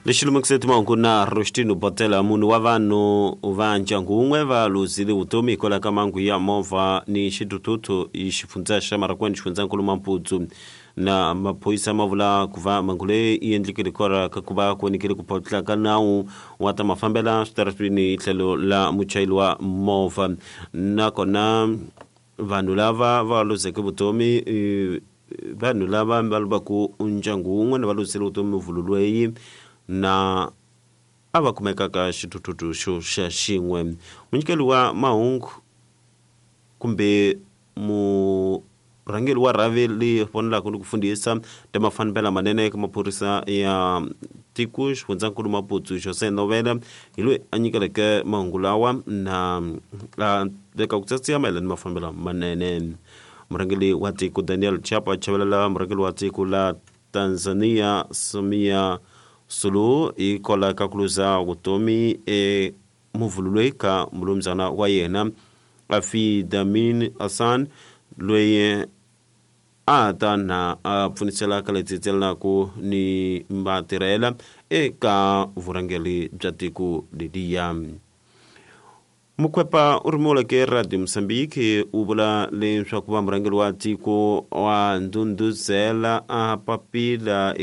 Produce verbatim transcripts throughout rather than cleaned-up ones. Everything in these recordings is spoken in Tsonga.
Lexi lumekise timahungu na Rostino Botela. Munhu wa vanhu va ndyangu wun'we va luzile vutomi hikwalaho ka mhangu ya movha ni xithuthuthu hi xifundza xa Marakwani, xifundzankulu Maputo. Na maphorisa ma vula ku va mhangu leyi yi endlekile hikwalaho ka ku va ku vonekile ku photla ka nawu wa ta mafambela switaratwini hi tlhelo la muchayeri wa movha. Nakona vanhu lava va luzeke vutomi i vanhu lava va lovaku ndyangu wun'we na va luzile vutomi muvhulu loyi na a va kumeka ka xithuthuthu xo xa xin'we. Munyikeli wa mahungu kumbe murhangeri wa rhavi leyi vonelaka ni ku fundhisa ta mafambelo manene eka maphorisa ya tiko xifundzankulu Maputo, José Novela, hi loyi a nyikeleke mahungu lawa na a veka ku tsatsiya mayelana ni mafambelo manene. Murhangeri wa tiko Daniel Chapo a chavelela murhangeri wa tiko la Tanzania Samia Suluhu hikwalaho ka ku luza vutomi e muvhulu loyi ka mulumuzana wa yena Afidamin Hassan, loyi a ta na a pfunisela ka leti tselanaku ni vatirhela eka vurhangeri bya tiko leliya. Mukhwepa u rhumiweke Radio Mozambique u vula leswaku va murhangeri wa tiko wa ndhundhuzela a papila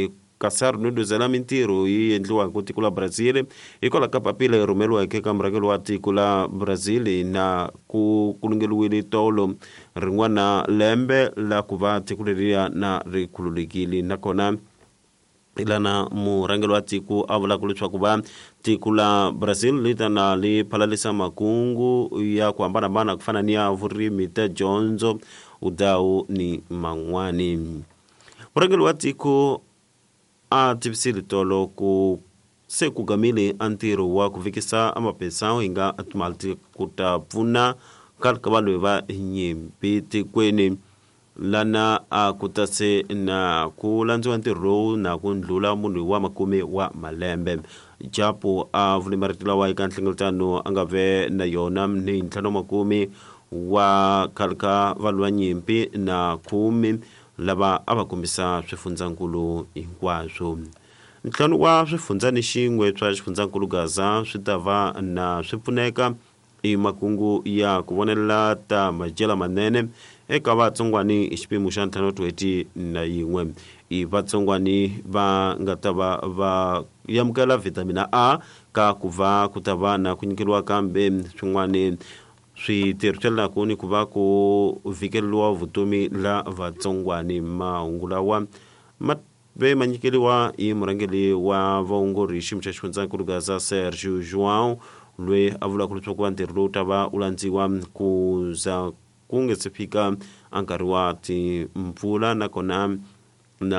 kasi a rhundhuzela mintirho yi endliwaka tiko la Brazil hikwalaho ka papila yi rhumeriweke eka murhangeri wa tiko la Brazil na ku kulungeriwile tolo rin'wana lembe la ku va tiko leriya na ri khululekile. Nakona lana murhangeri wa tiko a vulaka leswaku va tiko la Brazil li ta na li phalalisa makungu ya ku hambanahambana ku fana ni ya vurimi, ta dyondzo, vudhawu ni man'wani. Murhangeri wa tiko a tivisile tolo ku se ku gamile a ntirho wa ku vekisa amapesa hi nga timali ku ta pfuna khale ka vanhu va nyimpi tikweni. Lana a ku ta se na ku landziwa ntirho lowu na ku ndlula munhu wa makume wa malembe. Japo a vule marito lawa eka nhlengeletano a nga ve na yona ni ntlhanu makume wa khale ka vanhu va nyimpi na khume lava a va kombisa swifundzankulu hinkwaswo. Ntlhanu wa swifundza ni xin'we swa xifundzankulu Gaza swi ta va na swi pfuneka i makungu ya ku vonelela ta madyelo manene eka vatsongwani hi xipimo xa ntlhanu tin'hweti na yin'we. I vatsongwani va nga ta va va amukela vitamina A ka ku va ku ta va na ku nyikeriwa kambe swin'wani switirhiselaku ni ku va ku vhikeriwa vutomi la vatsongwani. Mahungu lawa ma ve ma nyikeriwa hi murhangeri wa vaongori hi xiyimo xa xifundzankulu Gaza Sergio João, loyi a vulaka leswaku ntirho lowu ta va u landziwa ku za ku nga se fika a nkarhi wa timpfula. Nakona